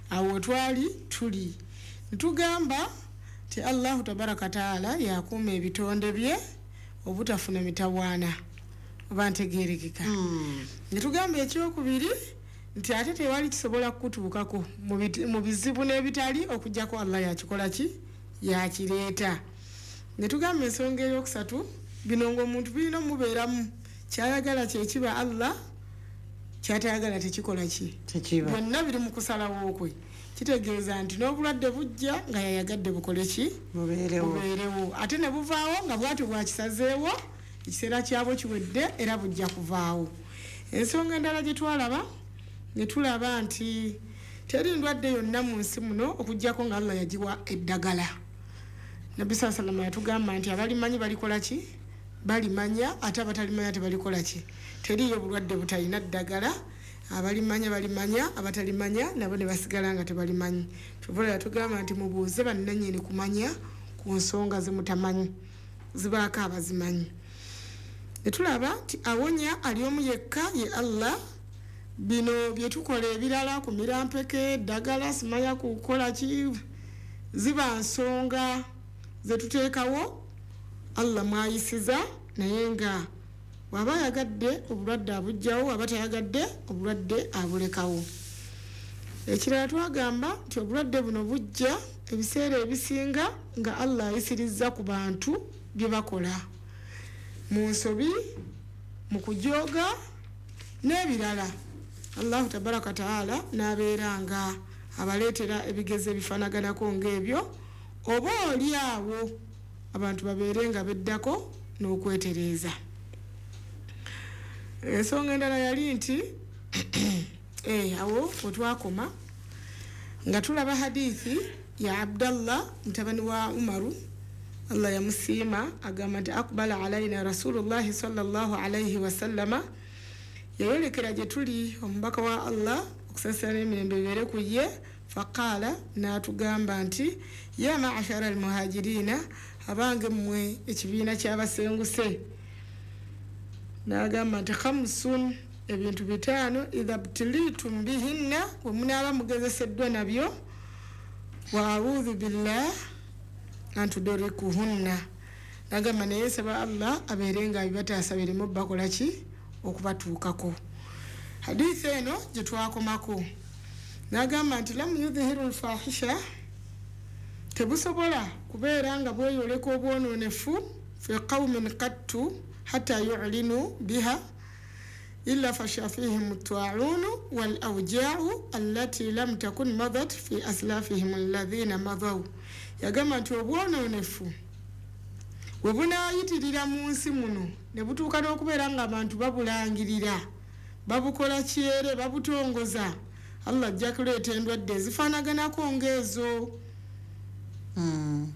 Awo twali tuli ntugamba nti Allahu tabaraka taala yakuuma ebitonde bye obutafuna mitawaana, oba ntegeerekeka? Netugamba ekyokubiri nti ate tewali kisobola kukutuukako mu bizibu n'ebitali okuggyako Allah yakikola ki, yakireeta. Netugamba ensonga eyokusatu, bino ng'omuntu birina omubeeramu, kyayagala kyekiba Allah, kyatayagala tekikola ki, byonna biri mu kusalawo kwe. Kitegeeza nti n'obulwadde bujja nga yayagadde bukole ki, bubeerewo, ate ne buvaawo nga bwatyo bwakisazeewo, ekiseera kyabwo kiwedde era bujja kuvaawo. Ensonga endala gye twalaba, ne tulaba nti teri ndwadde yonna mu nsi muno okuggyako nga Allah yagiwa eddagala. Nabbi sallallahu alaihi wasallam yatugamba nti abalimanyi balikola ki, balimanya, ate abatalimanya tebalikola ki. Teriyo bulwadde butalina ddagala, abalimanya balimanya, abatalimanya nabo ne basigala nga tebalimanyi. Kyova yatugamba nti mubuuze bannannyini kumanya ku nsonga ze mutamanyi, zibaako abazimanyi. Ne tulaba nti awonya ali omu yekka ye Allah. Bino bye tukola ebirala ku mirampeke, eddagala, simanya kukola ki, ziba nsonga ze tuteekawo Allah mwayisiza, naye nga bw'aba ayagadde obulwadde abugjawo, aba tayagadde obulwadde abulekawo. Ekirala twagamba nti obulwadde buno bujja ebiseera ebisinga nga Allah ayisirizza ku bantu bye bakola mu nsobi, mu kujooga n'ebirala. Allahu tabaraka taala n'abeera nga abaleetera ebigezo ebifaanaganako ng'ebyo, oba oli awo abantu babeere nga beddako n'okwetereeza. Ensonga endala yali nti awo we twakoma nga tulaba hadithi ya Abdallah mutabani wa Umaru, Allah yamusiima, agamba nti akbala alaina Rasulullahi sallallahu alaihi wasallama, yayolekera gye tuli omubaka wa Allah okusaasira n'emirembe bibeere ku ye, faqaala, n'atugamba nti ya ma'ashara almuhajirina, abange mmwe ekibiina ky'abasenguse. N'agamba nti khamsun, ebintu 5, idha btilitum bihinna, bwe munaaba mugezeseddwa nabyo, wa a'udhu billah an tudrikuhunna. N'agamba naye nsaba Allah abeere nga abibataasa bireme bakola ki, okubatuukako. Hadithi eno gye twakomako n'agamba nti lam yudhihiru lfahisha, tebusobola kubeera nga bweyoleka obwonoonefu fi qaumin qattu hatta yu'linu biha illa fasha fihim at-ta'un wal awja'u allati lam takun madat fi aslafihim alladhina madaw. Yagamba nti obwonoonefu bwe bunaayitirira mu nsi muno ne butuuka n'okubeera ng'abantu babulangirira, babukola kyere, babutongoza, Allah ajja kuleeta endwadde ezifaanaganako ng'ezo,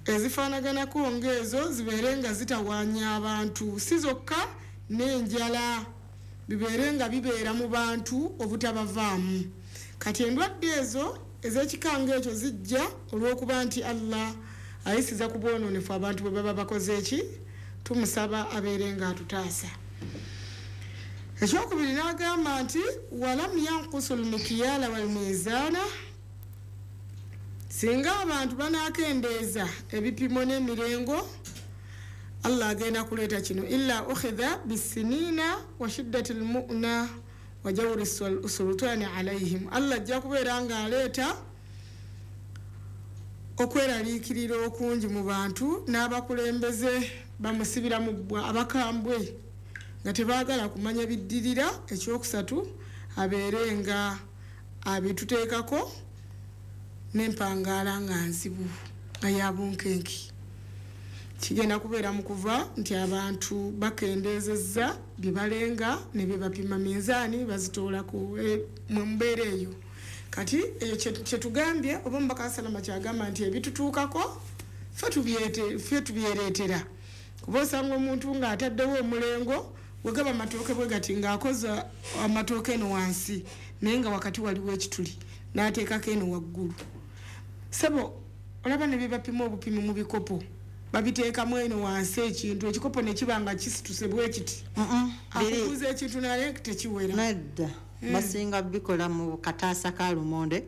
ezifaanaganako ng'ezo zibeere nga zitawaanya abantu, si zokka n'enjala bibeere nga bibeera mu bantu obutabavaamu. Kati endwadde ezo ez'ekikanga ekyo zijja olw'okuba nti Allah ayisiza ku bwonoonefu abantu bwe baba bakoze eki, tumusaba abeere nga atutaasa. Ekyokubiri n'agamba nti walam yankusu lmikiyala walmizaana, singa abantu banaakendeeza ebipimo n'emirengo, Allah agenda kuleeta kino illa ukhidha bisinina wa shiddati lmu'na wa jawri sultani alaihim. Allah ajja kubeera ng'aleeta okweraliikirira okungi mu bantu, n'abakulembeze bamusibira mu bbwa abakambwe nga tebaagala kumanya biddirira. Ekyokusatu abeere nga abituteekako n'empangaala nga nzibu nga ya bunkenke. Kigenda kubeera mu kuva nti abantu bakendeezezza bye balenga ne bye bapima, minzaani bazitoolako mu mbeera eyo. Kati eyo kyetugambye oba omubaka salama kyagamba nti ebitutuukako ffe tubyereetera. Kuba osanga omuntu ng'ataddewo omulengo bwe gaba amatooke bwe gati ng'akoze amatooke eno wansi naye nga wakati waliwo ekituli n'ateekako eno waggulu. Sebo olaba ne bye bapima obupimi mu bikopo babiteekamu eno wansi ekintu, ekikopo ne kiba nga kisituse bwe kiti. Akubuuza ekintu naye tekiwera. Nedda, basinga bikola mu kataasa ka lumonde.